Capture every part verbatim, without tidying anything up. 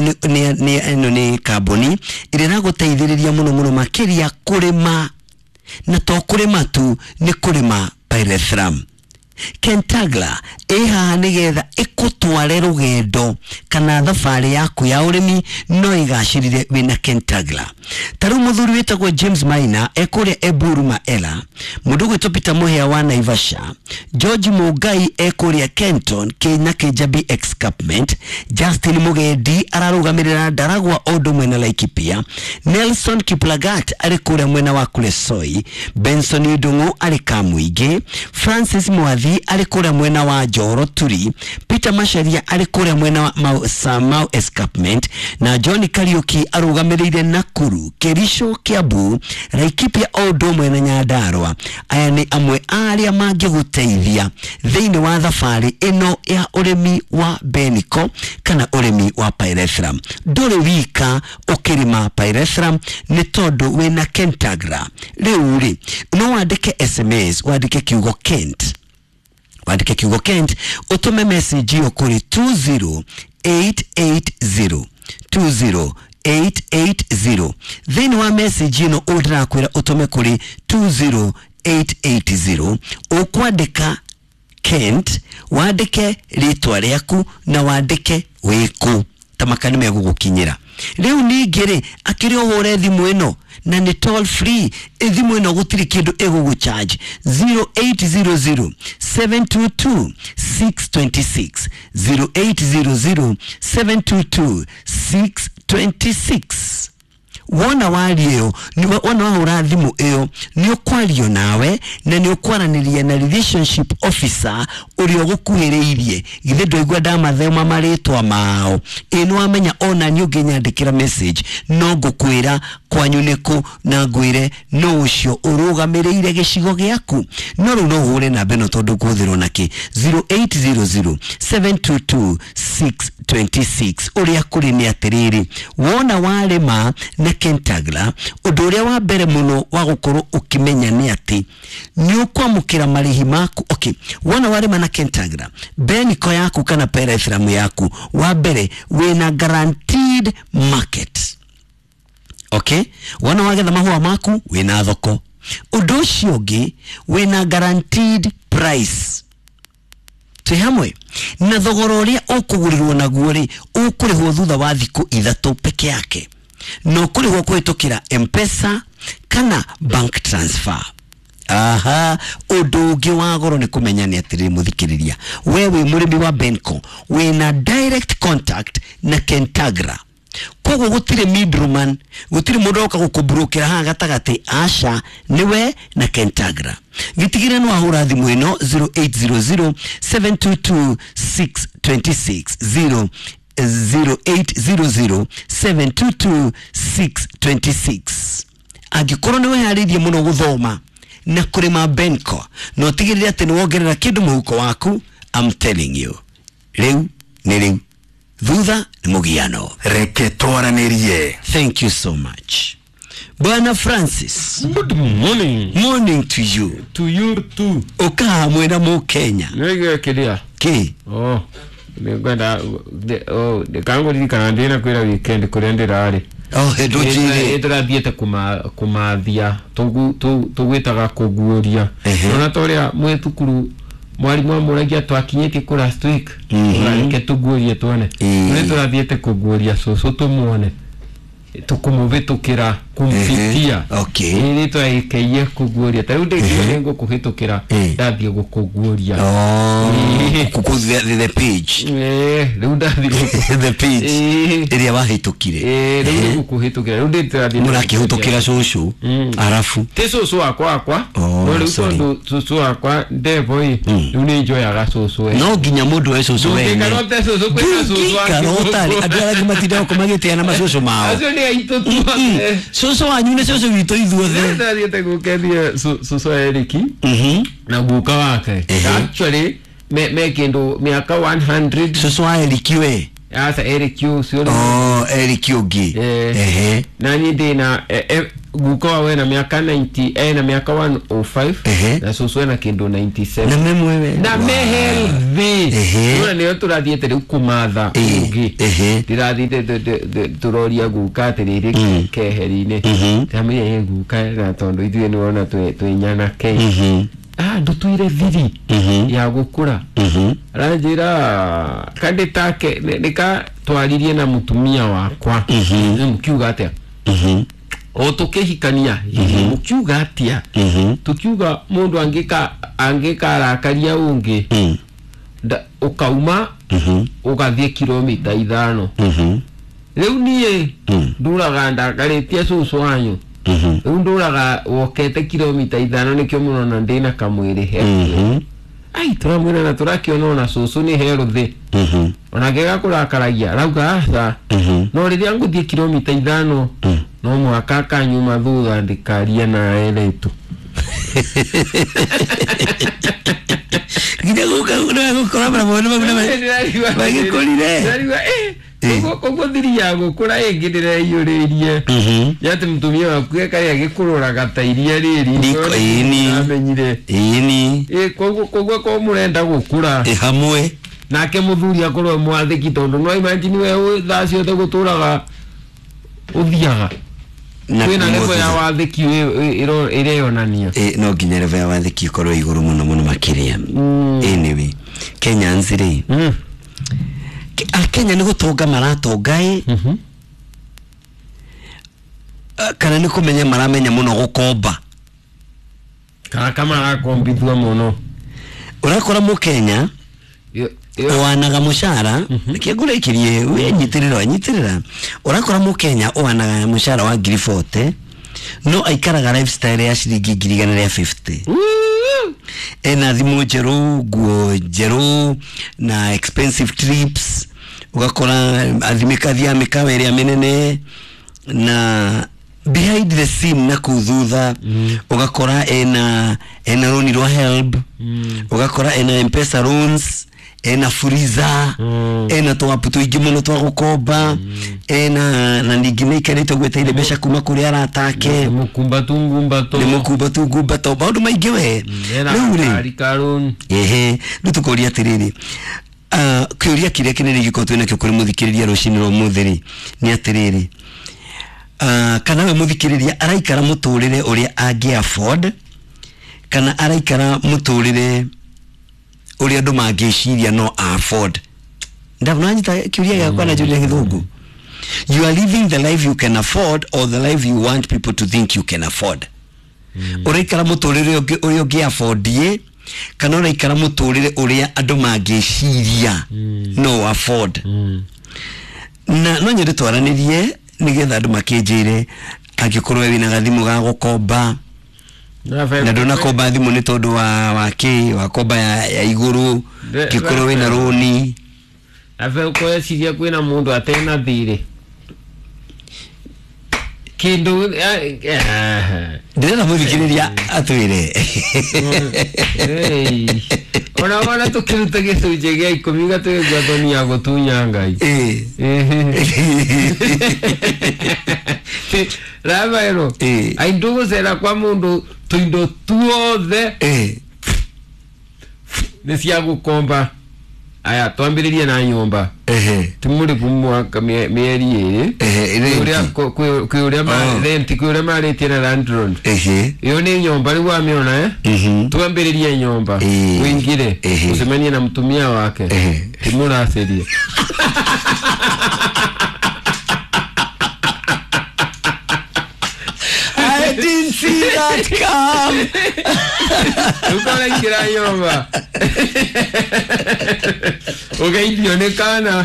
nĩ ĩno nĩ kambuni ĩrĩa ĩragũteithĩrĩria mũno mũno makĩria kũrĩma, na to kũrĩma tu, nĩ kũrĩma pyrethrum. Kentagra ĩ haha nĩgetha ĩkũtware rũgendo kana thabarĩ yaku ya ũrĩmi no ĩgacĩrire wĩna Kentagra. Ta rĩu mũthuri wĩtagwo James Maina ekũrĩa Eburu Maela, mũndũ ũgwĩtwo Peter Mũhĩa wa Naivasha, George Mũngai ekũrĩa Kenton na Kĩnjabi Escarpment, Justin Mũgendi ararũgamĩrĩra Ndaragwa o ũndũ ũmwe na Laikipia, Nelson Kiplagat arĩ kũrĩa mwena wa Kuresoi, Benson Ndung'u arĩ Kamũingĩ, Francis Mwathi arĩ kũrĩa mwena wa Njoro Turi, Peter Macharia arĩ kũrĩa mwena wa Mau, Samau Escarpment, na John Kariuki arũgamĩrĩire Nakuru, Kericho, Kiambu, Laikipia o ũndũ ũmwe na Nyandarua. Aya nĩ amwe arĩa mangĩgũteithia thĩinĩ wa thabarĩ ĩno ya ũrĩmi wa Beniko kana ũrĩmi wa pyrethrum. Ndũrĩ wika ũkĩrĩma pyrethrum nĩ tondũ wĩna Kentagra. Rĩu rĩ, no wandĩke S M S, wandĩke kiugo Kent, wandĩke kiugo Kent, ũtũme message ĩyo kũrĩ two zero eight eight zero, two zero eight eight zero. Thĩinĩ wa message ĩno ũndĩrakwĩra ũtũme kũrĩ two zero eight eight zero, ũkwandĩka Kent, wandĩke rĩtwa rĩaku na wandĩke wĩkũ, ta maka nĩ megũgũkinyĩra. Rĩu ningĩ rĩ, akĩrĩ ũhũre thimũ ĩno na nĩ toll free, thimũ ĩno gũtirĩ kĩndũ ĩgũgũcharge, zero eight zero zero seven two two six two six, zero eight zero zero seven two two six two six. Wona waria ĩyo, wona wahũra thimũ ĩyo, nĩ ũkwario nawe na nĩ ũkwaranĩria na relationship officer ũrĩa ũgũkuhĩrĩirie. Githĩ ndwaigua ndamathoma marĩtwa mao? Ĩ nĩ wamenya ona niĩ ũngĩnyandĩkĩra message no ngũkwĩra kwanyu nĩkũ na ngwĩre no ũcio ũrũgamĩrĩire gĩcigo gĩaku. No rĩu no ũhũre namba ĩno tondũ ngũhũthĩrwo nakĩ, zero eight zero zero seven two two six two six. Ũrĩa kũrĩ nĩ atĩrĩrĩ, wona warĩma na Kentagra, ũndũ ũrĩa wa mbere mũno wa gũkorwo ũkĩmenya nĩ atĩ nĩ ũkwamũkĩra marĩhi maku. Okay, wona warĩma na Kentagra, Beniko yaku kana pyrethrum yaku, wa mbere wĩna guaranteed market. Okay, wona wagetha mahũa maku wĩna thoko. Ũndũ ũcio ũngĩ wĩna guaranteed price. Twĩ hamwe na thogora ũrĩa ũkũgũrĩrwo naguo rĩ, ũkũrĩhwo thutha wa thikũ ithatũ peke yake, no kũrĩhwo kũhĩtũkĩra M-Pesa kana bank transfer. Aha, ũndũ ũngĩ wa goro nĩ kũmenya nĩ atĩrĩrĩ mũthikĩrĩria, we wĩ mũrĩmi wa Benco, wĩna direct contact na Kentagra. Koguo gũtirĩ middleman, gũtirĩ mũndũ oka gũkũmburũkĩra haha gatagatĩ, aca, nĩwe na Kentagra. Gĩtigĩre no ahũra thimũ ĩno zero eight zero zero seven two two six two six, zero zero eight zero zero seven two two six two six. Angĩkorwo nĩ wĩharĩirie mũno gũthoma na kũrĩma Benco, no ũtigĩrĩre atĩ nĩ wongerera kĩndũ mũhuko waku, I'm telling you, rĩu nĩ rĩu, thutha nĩ mũgiano. Reke twaranĩrie. Thank you so much. Bwana Francis. Good morning. Morning to you. To you too. Ũka hamwe na Mũkenya. Nĩgwe kĩrĩa? Kĩ? Oh, nĩngwenda oh, kangũririkana ndĩna kwĩra weekend kũrĩa ndĩrarĩ. Oh, ndũnjĩre. Ĩtũrathiĩte kũmathia, tũgwĩtaga kũguũria. Ona ta ũrĩa mwĩ thukuru mwarimũ amũragia twakinyĩtie kũ last week, reke tũguũrie tuone. Kũrĩa tũrathiĩte kũguũria cũcũ tũmuone, tũkũmũhĩtũkĩra, kũmũbitia. Okay. Ĩĩ twagĩkĩie kũguũria. Ta rĩu ndĩngiuga nĩngũkũhĩtũkĩra, ndathiĩ gũkũguũria. Oh, the, the page. Ĩĩ, rĩu ndathiĩ gũkũ the page ĩrĩa wahĩtũkire. Ĩĩ, rĩu nĩngũkũhĩtũkĩra. Rĩu ndĩrathiĩ mũrakĩhĩtũkĩra cũcũ arabu. Ti cũcũ wakwa wakwa. No rĩu tondũ cũcũ wakwa ndevo ĩ, rĩu nĩ njoyaga cũcũ we. No nginya mũndũ oe cũcũ wene. Ndũngĩikara ũte cũcũ kwĩna cũcũ wake. Ndũngĩikara ũtarĩ. Andũ arĩa angĩ matindaga gũkũ magĩtĩana macũcũ mao. Acio nĩ aitũ tuothe. Cũcũ wanyu nĩ cũcũ witũ ithuothe. Ndathiĩte gũkenia cũcũ Eriki na guka wake. Actually me me kĩndũ mĩaka one hundred. Cũcũ wa Eriki we? Asa Eriki ũcio. Oh, Eriki ũngĩ. Ehe. Na niĩ ndĩna guka wawe na miaka ninety eh na miaka one oh five na cucu ena kindu ninety-seven na memwewe na me healthy nona nio turathiete riu kumatha ungi ndirathiite turoria guka atiriri keheri-ini ndamwire guka na tondu ithuĩ nĩwona twĩ nyanake ah ndutuire thiri ya gukura aranjira kandi take nika twaririe na mutumia wakwa mukiuga atia o tukihikania mukiuga atia tukiuga mundu angika angika arakaria ungi ukauma ugathie kilomita ithano riu nie nduraga ndakaritie cucu wanyu riu nduraga wokete kilomita ithano nikio murona ndina kamwiri he ai turamwira na turakiona ona cucu ni healthy ona ngega kurakaragia arauga aca no riria nguthie kilomita ithano no mwaka akanyuma thutha ndikaria na eretu nginya guka gukora mabona mabona magikorire koguo koguo thiri ya gukura ingi ndireyuririe yati mutumia waku ekaria agikuroraga ta iria riri amenyire ini koguo koguo ko murenda gukura hamwe nake muthuri akorwo mwathiki tondu no imagine we thaa ciothe guturaga uthiaga kwina level ya wathiki ireyonania no nginya level ya wathiki ikorwo iguru muno muno makiria. Anyway, Kenyans ri Akenya ni gutonga maratonga i kana ni kumenya maramenya muno gukomba kana kama arakombithua muno urakora mu Kenya wanaga mushara reke ngũrĩkĩrie we nyitirira nyitirira urakora mu Kenya wanaga mushara wa ngiri forty no aikaraga lifestyle ya ciringi ngiri igana rĩa fifty ena thimu njerũ nguo njerũ na expensive trips ugakora athimika mĩkawa ĩrĩa mĩnene na behind the scene na kuu thutha ugakora ena ena roni rwa help ugakora ena M-Pesa loans ena freezer mm. ena twapu tuingi muno twa gukomba mm. ena na ningi ni ikarite gweteire mbeca kuma kuri aratake mukumba tungumba to ni mukumba tungumba to maundu maingi we riu ri ehe riu tukoria atiriri ah kiuria kiria kinene giko twina kio kuri muthikiriria rucini rwa muthiri ni atiriri ah kana we muthikiriria araikara muturire uria angi afford kana araikara muturire uria andu mangiciria no afford ndabona kiuria giakwa na juria githungu. You are living the life you can afford or the life you want people to think you can afford. Uraikara muturire uria ungi afford ye kana uraikara muturire uria andu mangiciria no afford. Na no nyende twaranirie nigetha andu makinjire angikorwo wina gathimu ga gukomba na ndunakomba thimu ni tondu wa wa ki wa komba ya, ya iguru ngikorwo wina roni ave ukweciria kwina mundu atena thiri kindu ndirenda muthikiriria atwire ona ona tukiruta gicunjĩ gĩa ikũmi gatwĩgua thoni ya gũtunya Ngai Rafaelo aindu gũcera kwa mũndũ tũindo tuothe nĩ cia gũkomba. Aya twambĩrĩrie na nyũmba timũrĩbu mwaka mĩeri ĩrĩ kwĩ ũrĩa rent kwĩ ũrĩa marĩtie na landlord ĩyo nĩ nyũmba rĩu wamĩona eh twambĩrĩrie nyũmba ũingĩre ũcemanie na mũtumia wake timũracĩrie. I didn't see that come. Ukaraingĩra nyũmba ugeithio nĩ kana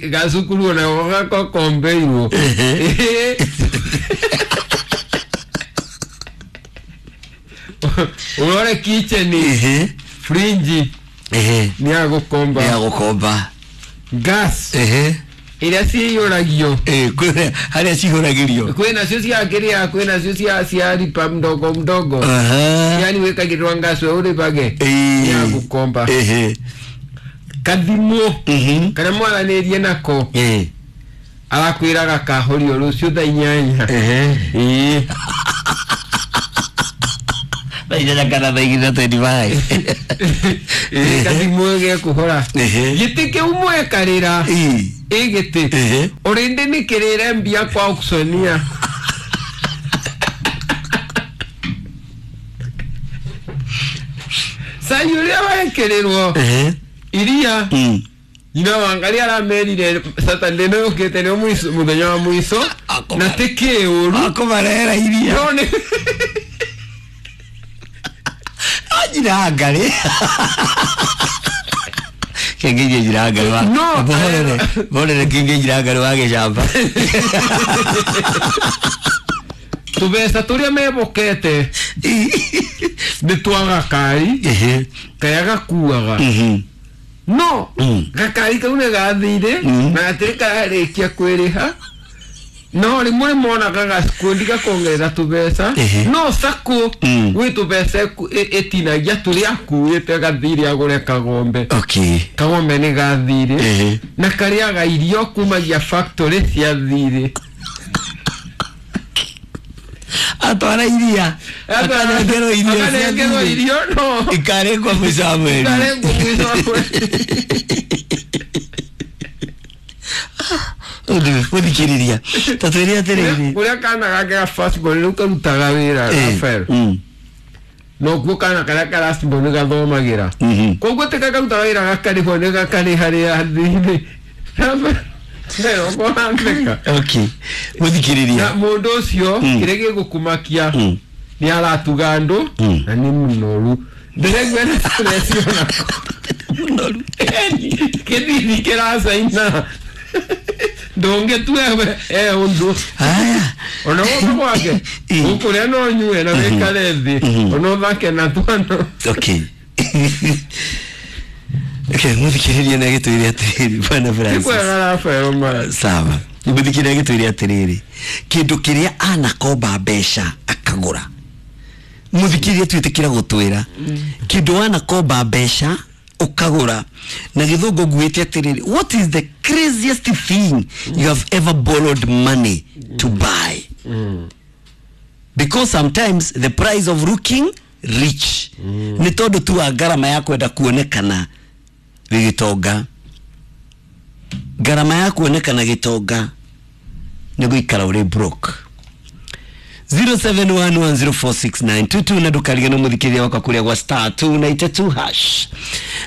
gacukuru ona gakokombeirwo urore kitchen fridge nĩ ya gũkomba nĩ ya gũkomba gas iria ciyũragio harĩa cihũragĩrio kwĩ nacio cia kĩrĩa kwĩ nacio cia cia ripa mdogo mdogo yani wĩkagĩrwo gas we ũrĩbage nĩ ya gũkomba kathimũ kana mwaranĩrie nako Arakwĩraga kahorio rũciũ thaa inyanya. Ehe. Ĩĩ. Thaa inyanya kana thaa igĩrĩ na twenty five. Ĩĩ gathimũ gekũhora. Ehe. Gĩtĩ kĩu mwekarĩra. Ĩĩ. Ĩ gĩtĩ. Ehe. Ũrĩndĩ nĩ kĩrĩre mbia kwa auctionia. Cai ũrĩa wekĩrĩrwo Ehe. iria Mm. nyina wa Ngai aramerire Saturday nĩ yũkĩte nĩ mũico mũthenya wa mũico na ti kĩũru Akũmarehera iria. no nĩ Njira ngarĩ. Kĩngĩirie njira ngarĩ wa. No, Bohorere. Bohorere kĩngĩ njira ngarĩ wa gĩcamba. tũbeca tũrĩa mebokete nĩ twa gakari Ehe. karĩa gakuaga Mhm. no Mm. gakari kau nĩ gathire Mm. na gatirĩ kararĩkia kwĩrĩha no rĩmwe nĩ monaga gakundi gakongerera tũbeca Ehe. no sacco Mm. gwĩ tũbeca ĩku- ĩ- ĩtinagia tũrĩa akuĩte gathire agũre kagombe Okay. kagombe nĩ gathire Ehe. na karĩaga irio kumagia factory cia thirĩ Atwara iria. Akanengerwo irio cia akanengerwo thirĩ. irio no Ikarĩkwo mũico wa mweri. ikarengwo mũico wa mweri. Mũthikĩrĩria. Ta twĩre atĩrĩrĩ. Kũrĩa kana gake ga first born rĩu karutaga wĩra Eh, Rafael mm. nokuo kana karĩa ka last born gathomagĩra Mhm. koguo ti gakarutaga wĩra gakarĩhwo nĩ gakarĩha rĩa thirĩ Rafael ũkũhandĩka Okay. Mũthikĩrĩria. na mũndũ ũcio Mm. kĩrĩa gĩgũkũmakia Mm. nĩ aratuga andũ Mm. na nĩ mũnoru ndĩraigua na stress onako Mũnoru. kĩthiri kĩracaina ndũngĩtue we e ũndũ Haya. ona gũkũ gwake Ĩ. ũkũrĩa no nyue na wĩkare thĩ Mhm. ona ũthake na twana Okay. Okay, mũthikĩrĩria nĩ agĩtwĩre atĩrĩrĩ Bwana ti Francis. kwega Rafael ma Sawa. Mũthikĩrĩria agĩtwĩre atĩrĩrĩ kĩndũ kĩrĩa anakomba mbeca akagũra. Mũthikĩrĩria twĩtĩkĩra gũtwĩra kĩndũ wanakomba mbeca ũkagũra na gĩthũngũ nguĩte atĩrĩrĩ what is the craziest thing you have ever borrowed money to buy? Because sometimes the price of looking rich nĩ tondũ tu wa ngarama ya kwenda kuonekana wĩ gĩtonga ngarama ya kuonekana gĩtonga nĩ gũikara ũrĩ broke zero seven one one zero four six nine two two na ndũkariganĩrwo mũthikĩrĩria wakwa kũrĩa gwa star two ninety two hash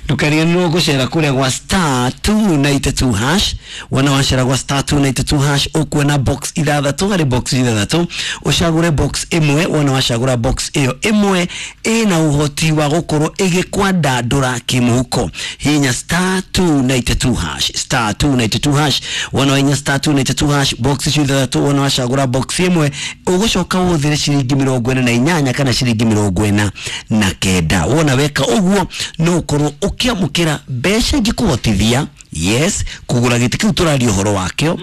ndũkariganĩrwo gũcera kũrĩa gwa star two ninety two hash wona wacera gwa star two ninety two hash ũkuona box ithathatũ harĩ box ithathatũ ũcagũre box ĩmwe wona wacagũra box ĩyo ĩmwe ĩna ũhoti wa gũkorwo ĩgĩkwandandũra kĩmũhuko hinya star two ninety two hash star two ninety two hash wona wahinya star two ninety two hash box icio ithathatũ wona wacagũra box ĩmwe ũgũcoka ũhũthĩre ciringi mĩrongo ĩna na inyanya kana ciringi mĩrongo ĩna na kenda wona weka ũguo no ũkorwo ũkĩamũkĩra mbeca ingĩkũhotithia yes kũgũra gĩtĩ kĩu tũraria ũhoro wakĩo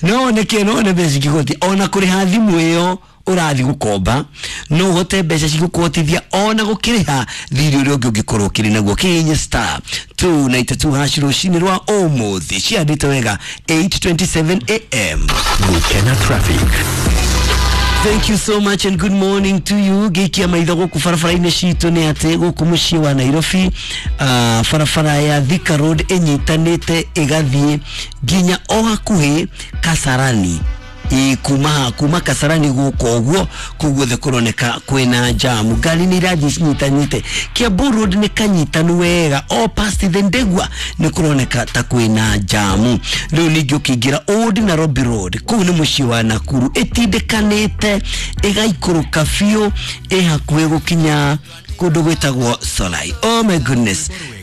no nĩkĩ no nĩ mbeca ingĩkũhotithia ona kũrĩha thimũ ĩyo ũrathiĩ gũkomba no ũhote mbeca cigũkũhotithia ona gũkĩrĩha thirĩ ũrĩa ũngĩ ũngĩkorwo ũkĩrĩ naguo kĩhihinye star two ninety two hash rũcinĩ rwa ũmũthĩ ciandĩte wega eight twenty seven a m. Gukena traffic. Thank you so much and good morning to you. Gĩikia maitho gũkũ barabara-inĩ citũ nĩ atĩ gũkũ mũciĩ wa Nairobi uh, barabara ya Thika Road ĩnyitanĩte ĩgathiĩ nginya o hakuhĩ Kasarani ĩ kuma kuma Kasarani gũkũ ũguo kũu guothe kũroneka kwĩna jamu ngari nĩ irathiĩ cinyitanĩte Kiambu Road nĩ kanyitanu wega o past the Ndegwa nĩ kũroneka ta kwĩna jamu rĩu ningĩ ũkĩingĩra Old Nairobi Road kũu nĩ mũciĩ wa Nakuru ĩtindĩkanĩte ĩgaikũrũka biũ ĩ hakuhĩ gũkinya kũndũ gwĩtagwo Solai. Oh my goodness.